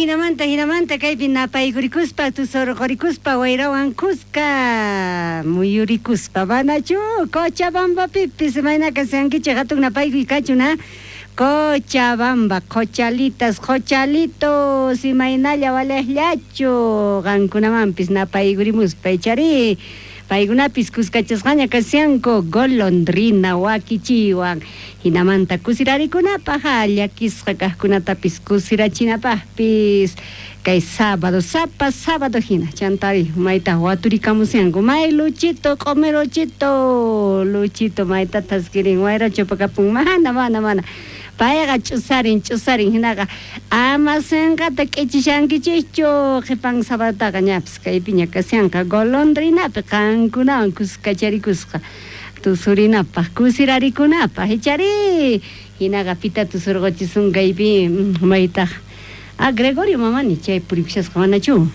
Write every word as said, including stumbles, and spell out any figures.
Hinamanta hinamanta kaypi napaykurikuspa tusurqurikuspa wayrawan kuska muyurikuspa manachu Cochabambapipis imayna kashankichik hatun napaykuy kachun ha Cochabamba qochalitas qochalitos imaynalla waliqllachu qankunamanpis napaykurimuspa ichari paykunapis kuskachasqaña kashanku golondrina wakichiwan hinamanta kusirarikunapaq llakisqa kaqkunatapis kusirachinapaqpis kay sábado sapa sábado hina chantari mayta waturikamushanku may Luchito q'umiruchito Luchito mayta thaskirin wayra chupakapun mana mana mana payqa ch'usarin ch'usarin hinaqa ama sinqata k'ichishankichikchu qhipan sabadotaqa ñapis kaypiña kashanqa golondrinapi qankunawan kuskacharikusqa tusurinapaq kusirarikunapaq ichari hinaqa pita tusurquchisun kaypi maytaq ah Gregorio Mamani chay purikushasqa manachu.